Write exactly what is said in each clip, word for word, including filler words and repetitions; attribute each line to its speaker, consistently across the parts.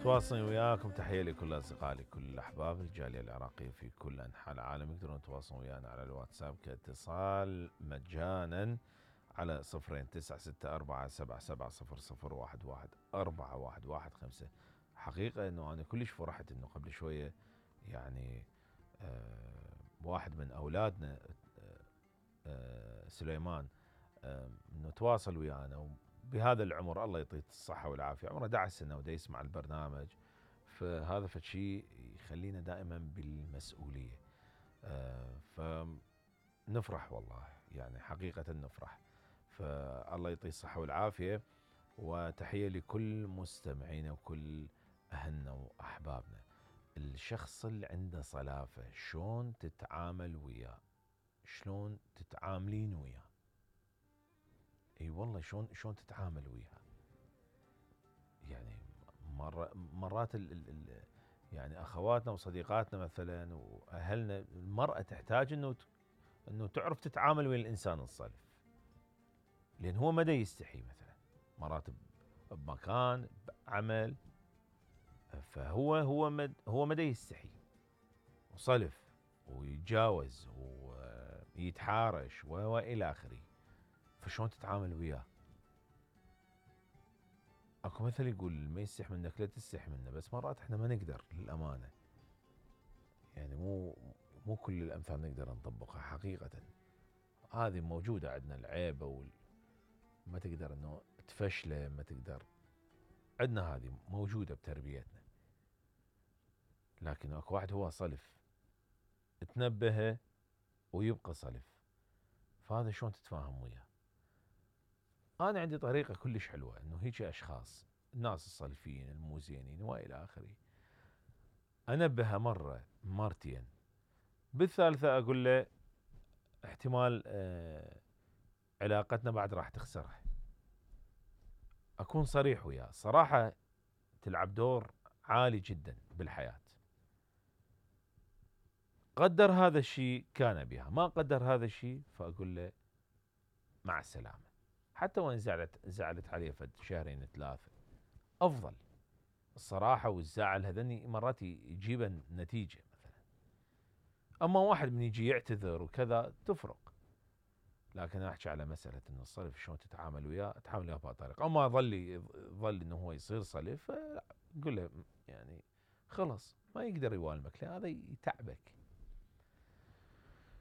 Speaker 1: تواصلي وياكم. تحية لكل أصدقائي كل الأحباب الجالية العراقية في كل أنحاء العالم. يقدرون يتواصلون ويانا على الواتساب كاتصال مجانا على صفرين تسعة ستة أربعة سبعة سبعة صفر صفر واحد واحد أربعة واحد واحد خمسة. حقيقة أنه أنا كلش فرحت أنه قبل شوية يعني آه واحد من أولادنا آه آه سليمان آه أنه تواصل ويانا بهذا العمر، الله يعطيه الصحة والعافية، عمره أحد عشر سنة ودا يسمع البرنامج. فهذا فشي يخلينا دائما بالمسؤولية. آه فنفرح والله، يعني حقيقة نفرح. فالله يعطيه الصحة والعافية، وتحية لكل مستمعينا وكل أهلنا وأحبابنا. الشخص اللي عنده صلافة شلون تتعامل وياه؟ شلون تتعاملين وياه؟ اي والله شلون شلون تتعامل وياها؟ يعني مرة مرات ال ال ال يعني اخواتنا وصديقاتنا مثلا واهلنا، المرأة تحتاج انه انه تعرف تتعامل ويا الانسان الصلف، لان هو مدى يستحي مثلا مرات بمكان بعمل، فهو هو مد هو مدى يستحي وصلف ويتجاوز ويتحارش والى اخره. فشلون تتعامل وياه؟ اكو مثل يقول ما يستح منك لا تستح منه، بس مرات احنا ما نقدر للامانه، يعني مو مو كل الامثال نقدر نطبقها حقيقه. هذه موجوده عندنا العيبه وال ما تقدر انه تفشله، ما تقدر، عندنا هذه موجوده بتربيتنا. لكن اكو واحد هو صلف تنبهه ويبقى صلف، فهذا شلون تتفاهم وياه؟ انا عندي طريقه كلش حلوه انه هيك اشخاص الناس الصلفين المو زينين والى اخره انبهه مره مرتين، بالثالثه اقول له احتمال آه علاقتنا بعد راح تخسرها. اكون صريح وياه، صراحه تلعب دور عالي جدا بالحياه. قدر هذا الشيء كان بها، ما قدر هذا الشيء فاقول له مع السلامه. حتى وان زعلت زعلت عليه فد شهرين ثلاثه، افضل الصراحه والزعل هذني مرات يجيب نتيجه مثلا. اما واحد من يجي يعتذر وكذا تفرق، لكن احكي على مساله انه الصلف شلون تتعامل وياه، اتعامل وياه بهالطريقه. اما ظل ظل انه هو يصير صلف، قل له يعني خلص ما يقدر يوالمك، لان هذا يتعبك.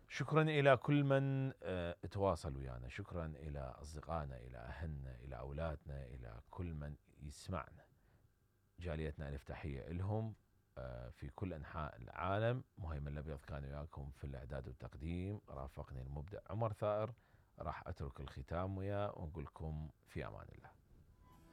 Speaker 1: شكرا الى كل من اه تواصل ويانا، شكرا الى اصدقائنا، الى اهلنا، الى اولادنا، الى كل من يسمعنا. جاليتنا الف تحيه لهم في كل انحاء العالم. مهيمن الابيض كان وياكم في الاعداد والتقديم، رافقني المبدع عمر ثائر. راح اترك الختام وياه ونقول لكم في امان الله.